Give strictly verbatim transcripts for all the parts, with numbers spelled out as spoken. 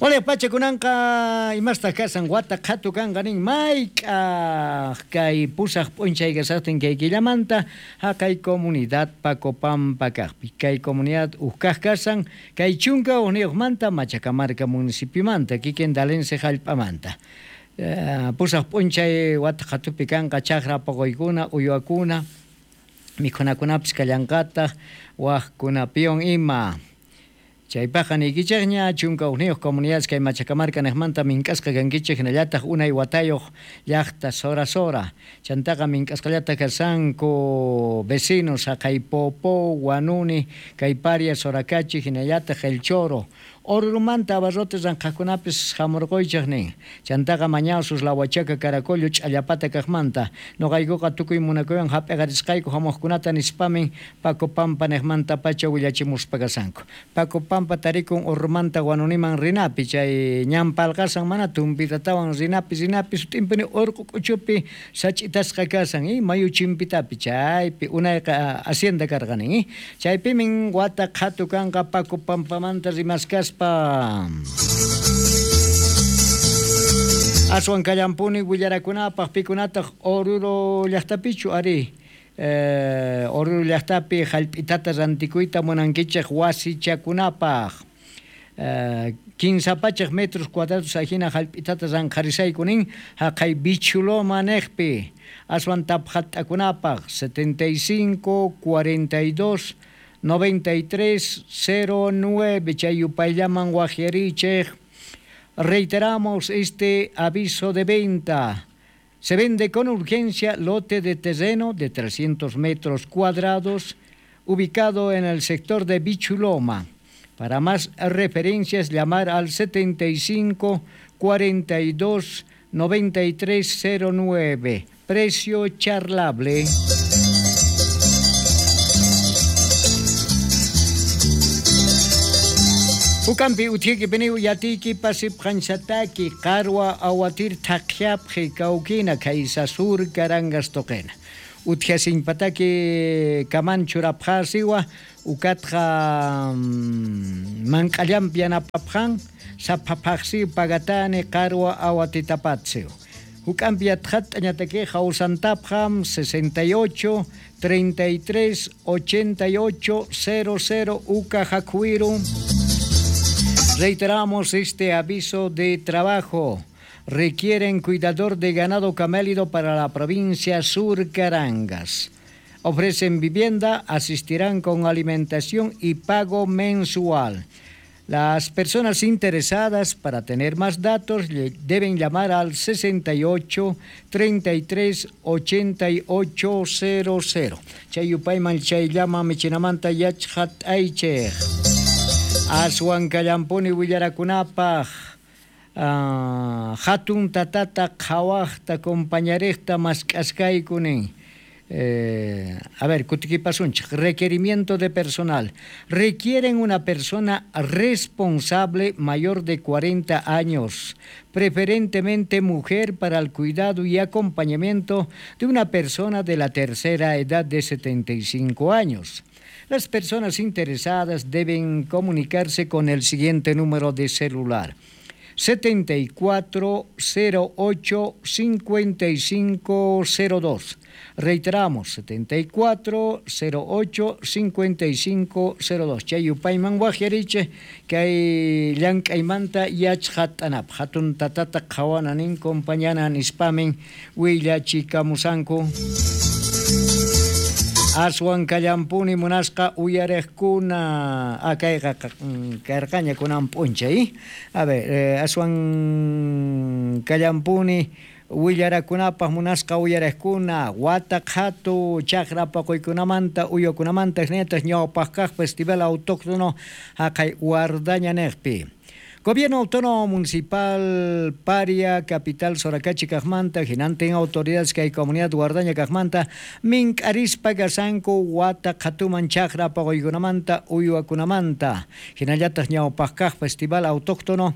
Wale pachakunanqa imastaq kasan wata qhatu kanqa nin mayk'aq kay pusaq p'unchay kasaqtin kay killamanta haqay comunidad Pacopampa kaqpi kay comunidad ukkaq kasan kay chunka uqniyuqmanta Machacamarca municipiomanta kikin Dalense hallp'amanta. Pusaq p'unchay wata qhatupi kanqa chaqra poqoykuna uywakuna mikhunakunapis kallanqataq waqkunapiwan ima. Chaypaqa niykichikña chunka uqniyuq comunidades kay Machacamarca niqmanta mink'asqa kankichik hinallataq unay watayuq llaqta Sora Sora. Chantaqa mink'asqallata kasanku vecinos haqay Popó, Guanuni, kay Paria, Soracachi hinallataq El Choro. Orurumanta abarrotes ranqhaqkunapis hamurquychik nin. Chantaqa Mañasus, La Huachaca, Caracollo, Ch'allapata kaqmanta. Nuqaykuqa tukuy munakuywan hap'iqarisqayku hamuqkunata nispamin Pacopampa niqmanta pacha willachimuspa kasanku. Pacopampa tarikun Orurumanta Guanuniman rinapi chay ñan palqasan mana tumpitatawan rinapi rinapi sut'impini urqu k'uchupi sach'itasqa kasan y mayu chimpitapi chaypi unayqa hacienda karqanin. Chaypimin wata qhatu kanqa Pacopampamanta rimaskaspa. Aswan kallampuni willarakunapaq pikunataq Oruro llaqtapichu ari eh, Oruro llaqtapi hallp'itata rantikuyta munankichik wasichakunapaq eh, kinsa pachak metros cuadrados ajina hallp'itata ranqharisayku nin haqay Bichuloma niqpi aswan taphat'akunapaq setenta y cinco cuarenta y dos noventa y tres cero nueve chay yupayllaman wajyarichik. Reiteramos este aviso de venta. Se vende con urgencia lote de terreno de trescientos metros cuadrados ubicado en el sector de Bichuloma. Para más referencias llamar al setenta y cinco cuarenta y dos noventa y tres cero nueve. Precio charlable. Ukampi utiki piniu yatiki pasip qanchataki qarwa awatir thaqyapqi kawkina kaysa sur karangas toqena. Utjasinpataki kamanchurapqasiwa ukatqa mank'allampi yanapapqan saphapaqsi pagatani qarwa awatitapatsiw. Ukampi yatqat'añataki hawsantapqam sesenta y ocho treinta y tres ochenta y ocho cero cero uka hakuiru. Reiteramos este aviso de trabajo. Requieren cuidador de ganado camélido para la provincia Sur Carangas. Ofrecen vivienda, asistirán con alimentación y pago mensual. Las personas interesadas para tener más datos deben llamar al sesenta y ocho treinta y tres ochenta y ocho cero cero. Chayupayman chayllama michinamanta yachhat aichej. Aswan kallampuni willarakunapaq uh, hatun tatata qhawaqta compañarejta mask'askaykunin. Eh, a ver, kutikipasunchik. Requerimiento de personal. Requieren una persona responsable mayor de cuarenta años, preferentemente mujer, para el cuidado y acompañamiento de una persona de la tercera edad de setenta y cinco años. Las personas interesadas deben comunicarse con el siguiente número de celular: setenta y cuatro cero ocho cincuenta y cinco cero dos. Reiteramos, setenta y cuatro cero ocho cincuenta y cinco cero dos. Chay yupayman wajyariche kay llank'aymanta yachqat'anap hatun tatata qhawananin compañana nispamin willachikamusanku. Aswan kallampuni munasqa uyariqkuna akayqa karqaña kunan p'unchay. A ver, eh, aswan kallampuni willarakunapaq munasqa uyariqkuna wata qhatu chaqra paquykunamanta uywakunamanta hinallataq ñawpaq kaq festival autóctono haqay Guardaña niqpi. Gobierno Autónomo Municipal Paria, Capital Soracachi kaqmanta, hinantin autoridades kay comunidad Guardaña kaqmanta, mink'arispa kasanku wata qhatuman chaqra paquykunamanta uywakunamanta. Hinallataq ñawpaq kaq festival autóctono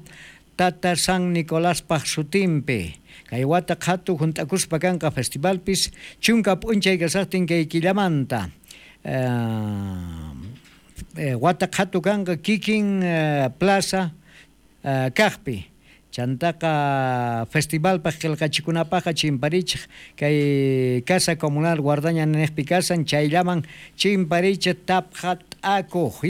Tata San Nicolás paq sutinpi. Kay wata qhatu hunt'akuspa kanqa festivalpis chunka p'unchay kasaqtin kay killamanta. Eh, eh, wata qhatu kanqa kikin eh, plaza kajpi. Chantaqa festivalpaq qillqachikunapaqqa chimparichik kay Casa Comunal Guardaña niqpi kasan chayllaman chimparichik tapqa t'akuq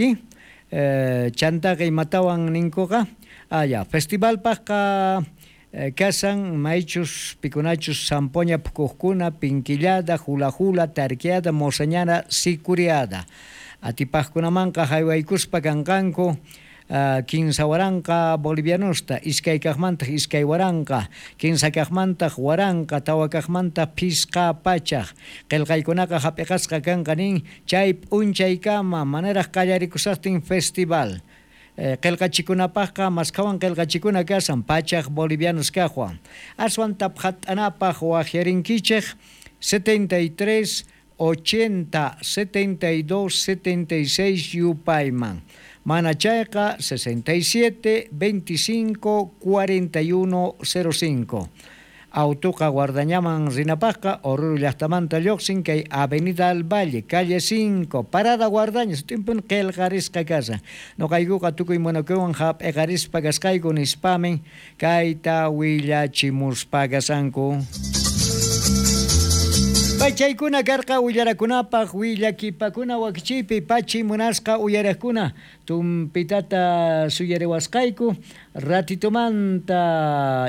chantaqa imatawan ninkuqa aya festivalpaqqa kasan maychus pikunachus zampoña phukuqkuna pinkillada hula hula tarqueada mosañana sicuriada atipaqkunamanqa haywaykuspa kanqanku kinsa waranqa bolivianosta, iskay kaqmantaq iskay waranqa, kinsa kaqmantaq waranqa, tawa kaqmantaq phisqa pachaq. Qillqaykunaqa hap'iqasqa kanqa nin chay p'unchaykama manaraq qallarikusaqtin festival. Qillqachikunapaqqa maskhawan qillqachikuna kasan pachaq bolivianos kaqwan. Aswan taphat'anapaq waqyarinkichik setenta y tres, ochenta, setenta y dos, setenta y seis yupayman. Mana chayqa sesenta y siete, veinticinco, cuarenta y uno, cero cinco. Autuqa Guardañaman rinapaqqa Oruro llaqtamanta lluqsin kay Avenida al Valle, calle cinco, Parada Guardaña, timpun qillqarisqa kasa. Noqaykuqa tukuy munakuywan hap'iqarispa kasqayku nispamin kayta willachimuspa kasanku. Pachaykuna karqa willarakunapaq willakipakuna wakichiypi pachi munasqa uyaraqkuna tumpitata suyariwasqayku ratitumanta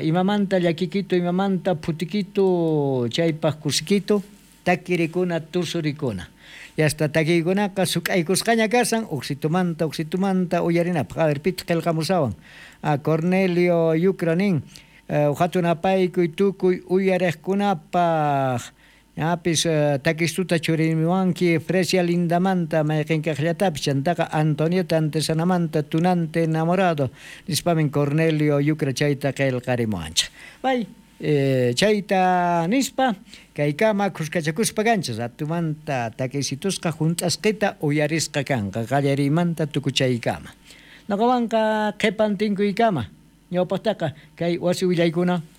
imamanta llakikitu imamanta phutikitu chaypaq kusikitu takirikuna tusurikuna yasta takiykunaqa suk'aykusqaña kasan uqsitumanta uqsitumanta uyarinapaq. A ver pitaq qillqamusawan a Cornelio Yucra nin hatun apaykuy tukuy uyariqkunapaq Ñapis takistuta churimiwanki Fresia Lindamanta mayqinkaqllatapis chantaqa Antonieta Antesanamanta tunante enamorado nispamin Cornelio Yucra chayta qillqarimuwanchik. Bay chayta nispa kaykama khuskachakuspa kanchis atumanta takisitusqa hunt'asqita uyarisqa kanqa qallariymanta tukuchaykama. Noqawanqa qhipan tinkuykama ñawpaqtaqa kay wasi willaykuna.